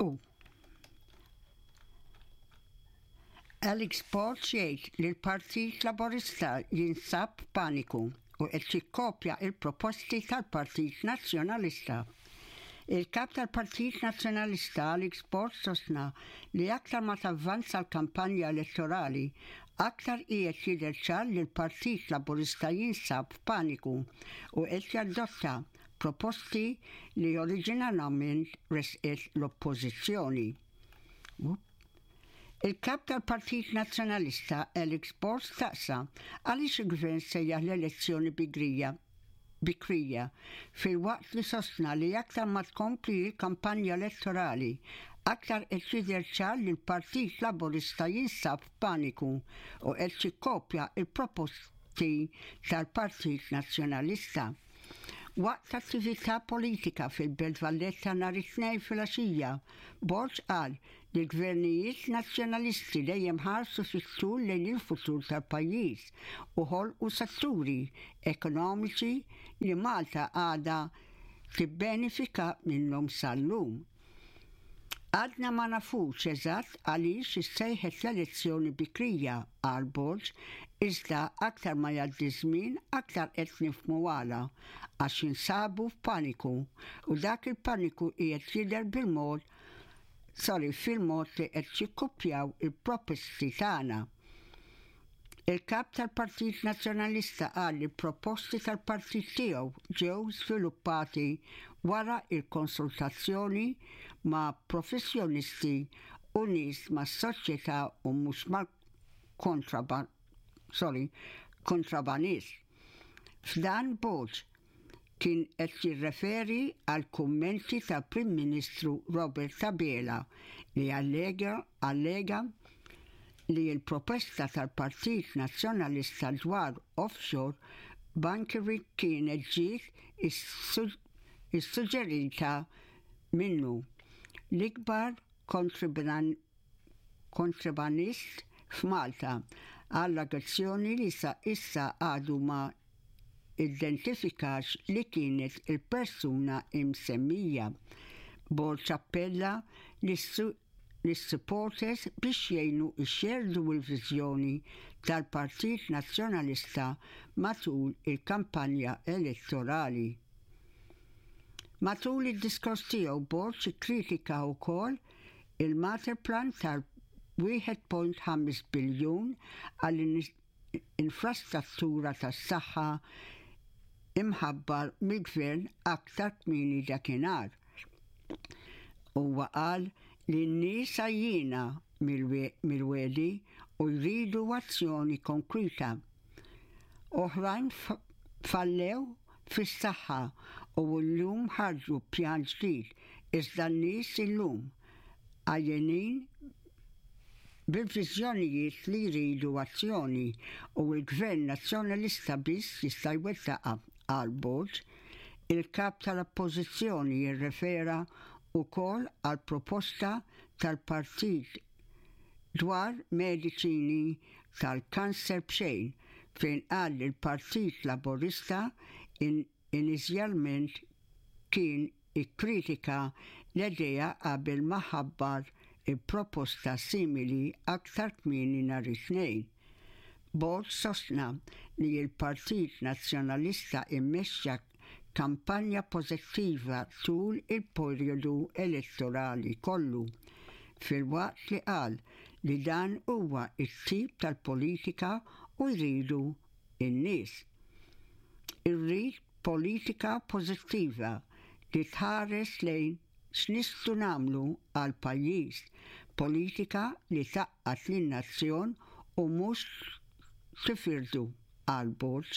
U Alex Borg jgħid li l-Partit Laburista jinsab f'paniku u qed jikkopja l-proposti tal-Partit Nazzjonalista. Il-Kap tal-Partit Nazzjonalista Alex Borg sostna li aktar ma tavvanza l-kampanja elettorali, aktar qiegħed jidher ċar li l-Partit Laburista jinsab f'paniku u qed jadotta proposti li oriġinalament ressqet l-Oppożizzjoni. Il-Kap tal-Partit Nazzjonalista Alex Borg staqsa għaliex il-Gvern sejjaħ l-elezzjoni bigrija bikrija filwaqt li sostna li aktar ma tkompli l-kampanja elettorali aktar qed jidher ċar li l-Partit Laburista jinsab f'paniku u qed jikkopja l-proposti tal-Partit Nazzjonalista. Waqt attività politika fil-Belt Valletta nhar it-Tnejn filgħaxija, Borg qal li l-gvernijiet Nazzjonalisti dejjem ħarsu fit-tul lejn il-futur tal-pajjiż u ħolqu setturi ekonomiċi li Malta għadha tibbenefika minnhom sal-lum. Għadna ma nafux eżatt għaliex issejħet l-elezzjoni bikrija, qal Borg, iżda aktar ma jgħaddi ż-żmien aktar qed nifhmu għala, għax jinsabu f'paniku u dak il-paniku qiegħed jidher bil-mod sorry fil-mod li qed jikkuppjaw il-proposti tagħna. Il-Kap tal-Partit Nazzjonalista qal li l-proposti tal-partit tiegħu ġew żviluppati wara l-konsultazzjoni ma' professjonisti u nies mas-soċjetà u mhux mal-kontraban sorry, kontrabanist. F'dan Borg kien qed jirreferi għall-kummenti tal-Prim Ministru Robert Abela li allega allega li l-proposta tal-Partit Nazzjonalista dwar offshore bunkering kienet ġiet issuġġerita minnu. L-ikbar kontrabanist f'Malta, allegazzjoni li sa issa għadu ma identifikax li kienet il-persuna imsemmija. Borg appella lis-supporters biex jgħinu jxerrdu l-viżjoni tal-Partit Nazzjonalista matul il-kampanja elettorali. Matul id-diskors tiegħu Borg ikkritika wkoll il-Materplan tal-1.5 biljun għall-infrastruttura tas-saħħa imħabbar mill-Gvern aktar kmieni dakinhar. Huwa qal li n-nies għajjiena mill-wegħdi u jridu azzjoni konkreta. Oħrajn fallew fis-saħħa u llum ħarġu pjan ġdid iżda n-nies illum għajjenin bil-viżjonijiet li jridu azzjoni u l-Gvern Nazzjonalista biss jista' jwettaqha, qal Borg. Il-Kap tal-Oppożizzjoni rrefera wkoll għall-proposta tal-Partit dwar mediċini tal-kanser b'xejn fejn qal li l-Partit Laburista inizjalment kien ikkritika l-idea qabel ma ħabbar il-proposta simili aktar kmieni nhar it-Tnejn. Borg sostna li l-Partit Nazzjonalista immexxa kampanja pożittiva tul il-perjodu elettorali kollu, filwaqt li qal li dan huwa t-tip tal-politika u jridu n-nies. Irrid politika pożittiva li tħares lejn x'nistgħu nagħmlu għall-pajjiż, politika li tgħaqqad lin-nazzjon u mhux tifirdu, qal Borg.